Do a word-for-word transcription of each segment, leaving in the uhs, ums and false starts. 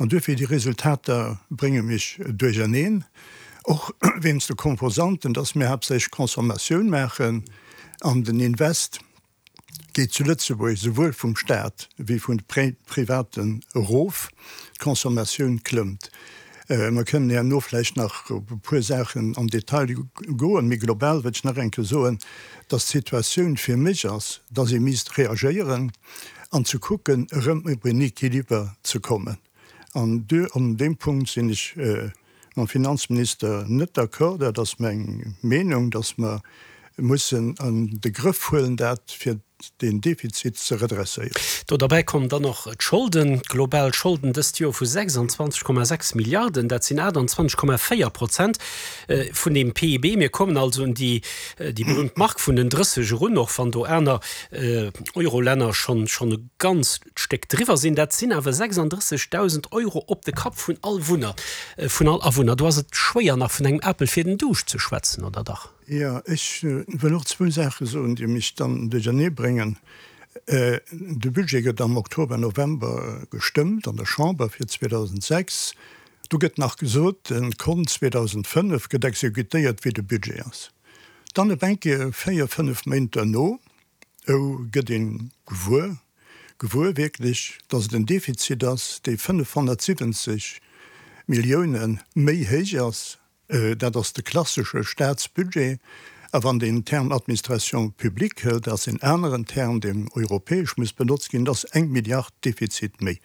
An duerfir déi Resultater brénge mech duercherneen, och wéinst de Komposanten, dass mir haaptsächlech Consommatioun maachen an den Invest geet zu Lëtzebuerg souwuel vum Staat wéi vun de Privaten erof, d'Consommatioun klëmmt. Mer kënnen herno vläicht nach op e puer Saachen am Detail goen, mee global wëllt ech nach eng Kéier soen, dass d'Situatioun fir mech ass, dass ee misst reagéieren an ze kucken, erëm op en Equiliber ze kommen. An an deem Punkt sinn ech mam Finanzminister net d'accord. Dat ass meng Meenung, dass mer mussen an de Grëff huelen dat, fir deen Defizit ze redresséieren. Do derbäi kommen dann och d'Scholden, d'global Scholden dëst Joer vu sechsundzwanzeg Komma sechs Milliarden, dat sinn aachtundzwanzeg Komma véier Prozent vun dem P I B. Mir kommen also un déi déi berühmt Mark vun den drësseg erun, och wann do aner Eurolänner schonn schonn e ganzt Stéck driwwer sinn. Dat sinn awer sechsunddrëssegdausend Euro op de Kapp vun all Wunner, vun all Awunner. Do ass et schwéier nach vun engem Apel fir den Duuscht ze schwätzen, oder dach? Jo, ech wëll och zwou Saache soen, déi mech dann duerchernee bréngen. De Budget gëtt am Oktober, November gestëmmt an der Chamber fir zweedausendsechs. Do gëtt nach gesot, de Kont zweedausendfënnef gëtt exekutéiert, wéi de Budget ass. Dann op eng Kéier, véier, fënnef Méint duerno, ou gëtt ee gewuer, gewuer wierklech, datt et en Defizit ass, dee fënnefhonnertsiwwenzeg Millioune méi héich ass. Dat ass de klassesche Staatsbudget. A wann den Term Administration publique hëlt, dat ass en aneren Term, deen europäesch muss benotzt ginn, dat ass eng Milliard Defizit méi.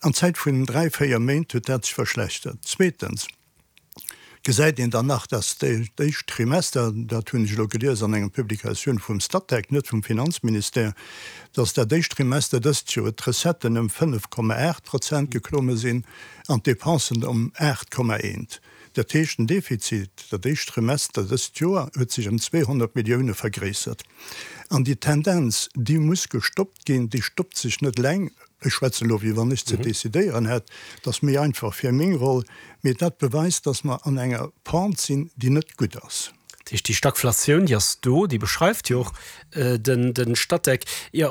An Zäit vun dräi, véier Méint huet dat sech verschlechtert. Zweetens gesäit een dann nach, dass d'éischt Trimester, dat hunn ech elo gelies an enger Publikatioun vum Statec, net vum Finanzministère, dass dat éischt Trimester dëst Joer d'Recetten ëm fënnef Komma aacht Prozent geklomme sinn an d'Depensen ëm aacht Komma eent. Dat heescht, den Defizit dat éischt Trimester dëst Joer huet sech ëm zweehonnert Millioune vergréissert. An déi Tendenz, déi muss gestoppt ginn, déi stoppt sech net eleng. Ech schwätzen elo, wéi wann ech ze decidéieren hätt, dat ass méi einfach fir meng Roll, mee dat beweist, dass mer an enger Pente sinn, déi net gutt ass. Dat heescht, déi Stagflatioun, déi ass do, déi beschreift jo och de Statec. Jo,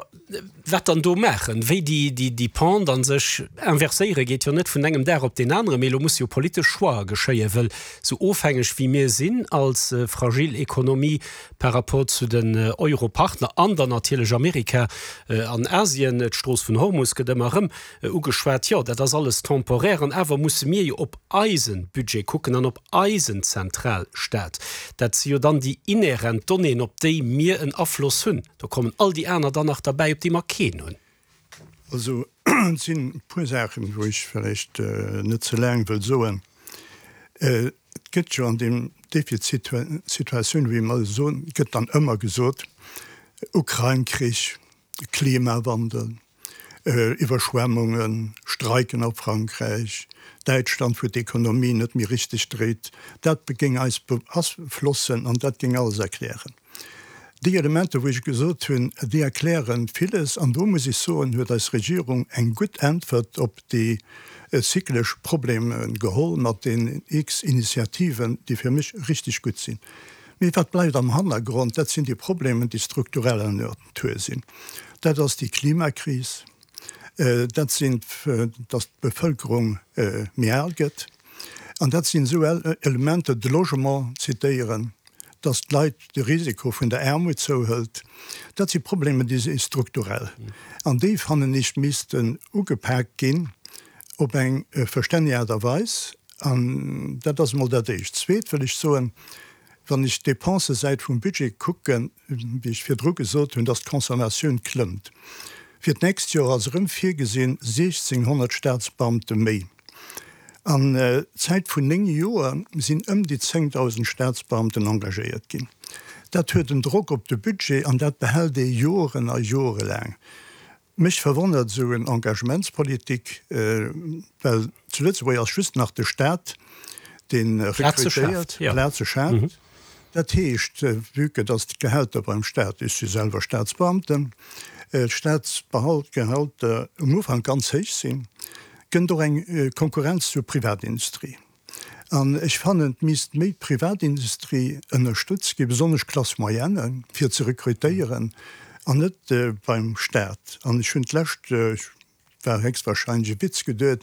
wat dann do maachen? Wéi déi Pente a sech inverséiere geet jo net vun engem Dag op deen aneren, mee elo musse jo politesch Choixë geschéien, wëll esou ofhängeg wéi mir sinn als fragil Ekonomie par rapport zu den Europartner an dann natierlech Amerika an Asien, d'Strooss vun Hormus gëtt ëmmer erëm ugeschwat, jo dat ass alles temporaire an awer musse mir jo op eise Budget kucken an op eisen Zentralstaat. Dat si jo dann déi inhärent Donnéeën, op déi mir en Afloss hunn. Do kommen all déi aner dann nach derbäi, op déi mer keen hunn. Also et sinn e puer Saachen, wou ech vläicht net ze laang wëll soen. Et gëtt jo an deem Defizitsituatioun, wéi mer soen, gëtt dann ëmmer gesot, Ukrain-Krich, Klimawandel, Iwwerschwemmungen, Streiken a Frankräich, Däitschland, wou d'Ekonomie net méi richteg dréit, dat géing eis beaflossen an dat géing alles erklären. Déi Elementer, wou ech gesot hunn, déi erkläre villes an do muss ech soen, huet eis Regierung eng gutt Äntwert op déi zyklesch Problemer geholl mat den x Initiativen, déi fir mech richteg gutt sinn. Mee wat bleift am Hannergrond? Dat sinn déi Problemer, déi struktureller Natur sinn. Dat ass déi Klimakris, dat sinn, datt d'Bevëlkerung méi al gëtt, an dat sinn esou Elementer, de Logement zitéieren, datt d'Leit de Risiko vun der Aarmut zouhëlt. Dat si Problemer, déi si strukturell. An déi, fannen ech, missten ugepaakt ginn op eng verstänneg Aart a Weis. An dat ass emol dat Éischt. Zweet wëll ech soen, wann ech d'Dépensesäit vum Budget kucken, wéi ech virdru gesot hunn, datt d'Consommatioun klëmmt. Fir d'nächst Joer ass erëm virgesinn siechzénghonnert Staatsbeamte méi. An Zäit vun néng Joer sinn ëm déi zéngdausend Staatsbeamten engagéiert ginn. Dat huet en Drock op de Budget an dat behält ee Joren a Jore laang. Mech verwonnert esou en Engagementspolitik, well zu Lëtzebuerg ass just nach de Staat, dee rekrutéiert, Plaze schaaft. Dat heescht, vue que dass d'Gehälter beim Staat, ech si selwer Staatsbeamten, d'Staatsgehälter um Ufank ganz héich sinn, kënnt och eng Konkurrenz zur Privatindustrie. An ech fannen, et misst méi d'Privatindustrie ënnerstëtzt ginn, besonnesch d'Classe moyenne, fir ze rekrutéieren, an net beim Staat. An ech hunn d'lescht, war héchstwahrscheinlech e Witz geduet,